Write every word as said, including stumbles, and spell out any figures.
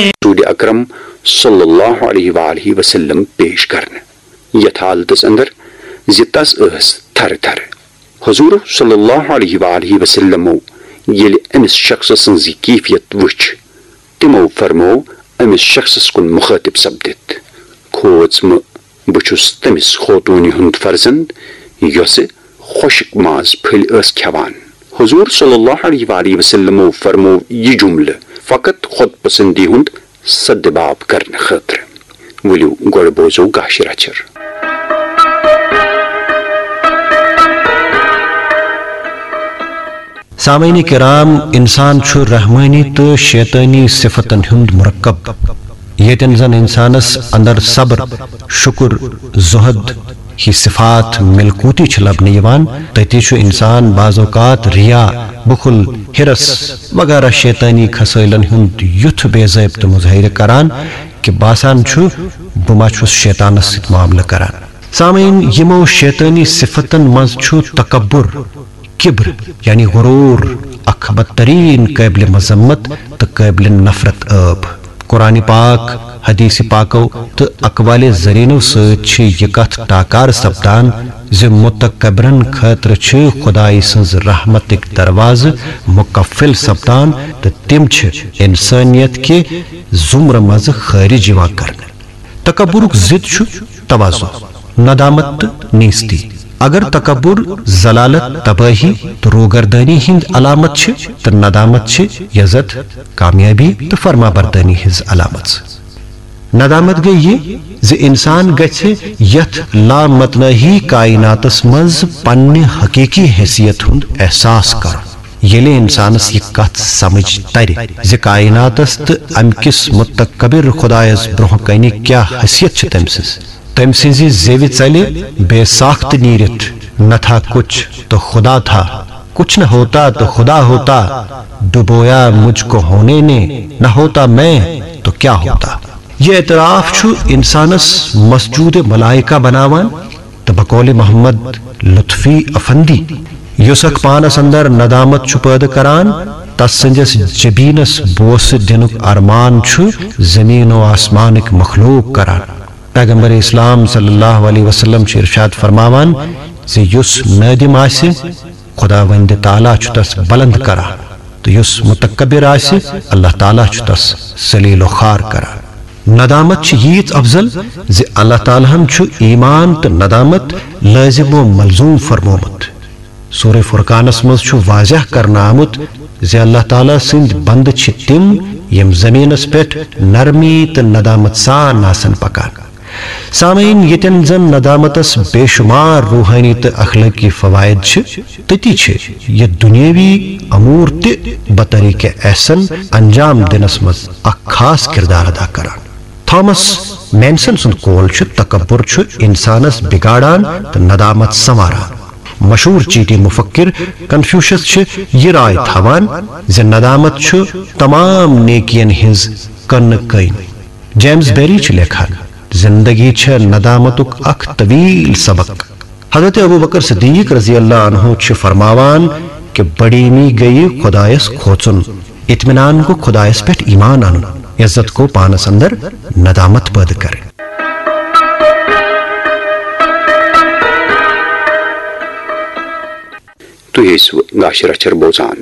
رسول اکرم صلی اللہ علیہ وآلہ وسلم پیش کرنہٕ۔ یتھ حالتس اندر زِ تس ٲس تھرٕ تھرٕ۔ حضور صلی اللہ علیہ وآلہ وسلمو ییٚلہِ أمِس شخص سٕنٛز یہِ کیفیت وٕچھ، تِمو فرموو أمِس شخصس کُن مخاطب سپدِتھ، "کھوژ مہٕ، بہٕ چھُس تٔمِس خوتوٗنہِ ہُنٛد فرزند یۄسہٕ خۄشک ماز پھٔلۍ ٲس کھٮ۪وان۔" حضور صلی اللہ علیہ وآلہ وسلمو فرموو یہِ جملہٕ فقط خود پسندی ہُنٛد سدباب کرنہٕ خٲطرٕ۔ ؤلِو گۄڈٕ بوزو گاشہِ رچھر۔ سامعین کرام، انسان چھُ رحمانی تہٕ شیطانی صفتن ہُنٛد مرکب۔ ییٚتٮ۪ن زن انسانس اندر صبر، شکر، زہد ہی صفات ملکوتی چھِ لبنہٕ یِوان، تتی چھُ انسان بعض اوقات ریا، بخل، حرص وغیرہ شیطانی خصٲیلن ہُنٛد یُتھ بے ضٲبطہٕ مظٲہرٕ کران کہِ باسان چھُ بہٕ ما چھُس شیطانس سۭتۍ معاملہٕ کران۔ سامعین، یِمو شیطانی صفتن منٛز چھُ تکبر، کبر یعنی غرور، اکھ بدترین قابل مذمت تہٕ قابل نفرت عٲب۔ قرآن پاک، حدیث پاکو تہٕ اقوال زرینو سۭتۍ چھِ یہِ کتھ ٹاکار سپدان زِ متکبرن خٲطرٕ چھِ خدایہِ سٕنٛز رحمتٕکۍ دروازٕ مقفل سپدان تہٕ تِم چھِ انسانیت کہِ زمرٕ منٛزٕ خارج یِوان کرنہٕ۔ تکبرُک ضد چھُ تواضع، ندامت تہٕ نیستی۔ اگر تکبر، ذلالت، تباہی تہٕ روگردانی ہٕنٛدۍ علامت چھِ، تہٕ ندامت چھِ عزت، کامیابی تہٕ فرمابردٲری ہٕنٛز علامت۔ ندامت گٔے یہِ زِ انسان گژھِ یتھ لامتناہی کائناتس منٛز پننہِ حقیقی حیثیت ہُنٛد احساس کرُن۔ ییٚلہِ انسانس یہِ کتھ سمجھ ترِ زِ کائناتس تہٕ امہِ کِس متکبر خدایس برونٛہہ کنہِ کیاہ حیثیت چھِ تٔمۍ سٕنٛز، تٔمۍ سٕنٛزِ زیوِ ژلہِ بے ساخت نیٖرِتھ، "نہ تھا کچھ تو خدا تھا، کچھ نہ ہوتا تو خدا ہوتا، ڈبویا مجھ کو ہونے نے، نہ ہوتا میں تو کیا ہوتا۔" یہ اعتراف چھُ انسانس مسجود ملائکہ بناوان۔ تہٕ بقول محمد لطفی افندی، یُس اکھ پانس اندر ندامت چھُ پٲدٕ کران، تس سٕنٛدِس جبینس بوسہٕ دِنُک ارمان چھُ زمین و آسمانٕکۍ مخلوق کران۔ پیغمبر اسلام صلی اللہ علیہ وسلم چھُ ارشاد فرماوان زِ یُس نٲدِم آسہِ، خداوند تعالیٰ چھُ تس بلند کران، تہٕ یُس متکبر آسہِ، اللہ تعالیٰ چھُ تس ذلیل و خوار کران۔ ندامت چھِ ییٖژ افضل زِ اللہ تعالیٰ ہن چھُ ایمان تہٕ ندامت لٲزم و ملزوم فرمومُت۔ سورہ فرقانس منٛز چھُ واضح کرنہٕ آمُت زِ اللہ تعالیٰ سٕنٛدۍ بندٕ چھِ تِم یِم زمینس پٮ۪ٹھ نرمی تہٕ ندامت سان آسن پکان۔ سامعین، ییٚتٮ۪ن زن ندامتس بے شمار روحٲنی تہٕ اخلٲقی فوائد چھِ، تٔتی چھِ یہِ دُنیٲوی امور تہِ بطریقہ احسن انجام دِنس منٛز اکھ خاص کردار ادا کران۔ تھامس مینسن سُنٛد قول چھُ، تکبر چھُ انسانس بگاڑان تہٕ ندامت سنواران۔ مشہور چیٖٹی مفکر کنفیوشس چھِ یہِ راے تھاوان زِ ندامت چھُ تمام نیکین ہٕنٛز کنہٕ کٔنۍ۔ جیمز بیری چھُ لیکھان، "زندگی چھےٚ ندامتُک اکھ طویل سبق۔" حضرت ابو بکر صدیق رضی اللہ عنہ چھُ فرماوان کہِ بڑیمی گٔیہِ خدایس کھوژُن، اطمینان گوٚو خدایس پٮ۪ٹھ ایمان انُن، عزت گوٚو پانس اندر ندامت پٲدٕ کرٕنۍ۔ تُہۍ ٲسِو گاشہِ رچھر بوزان۔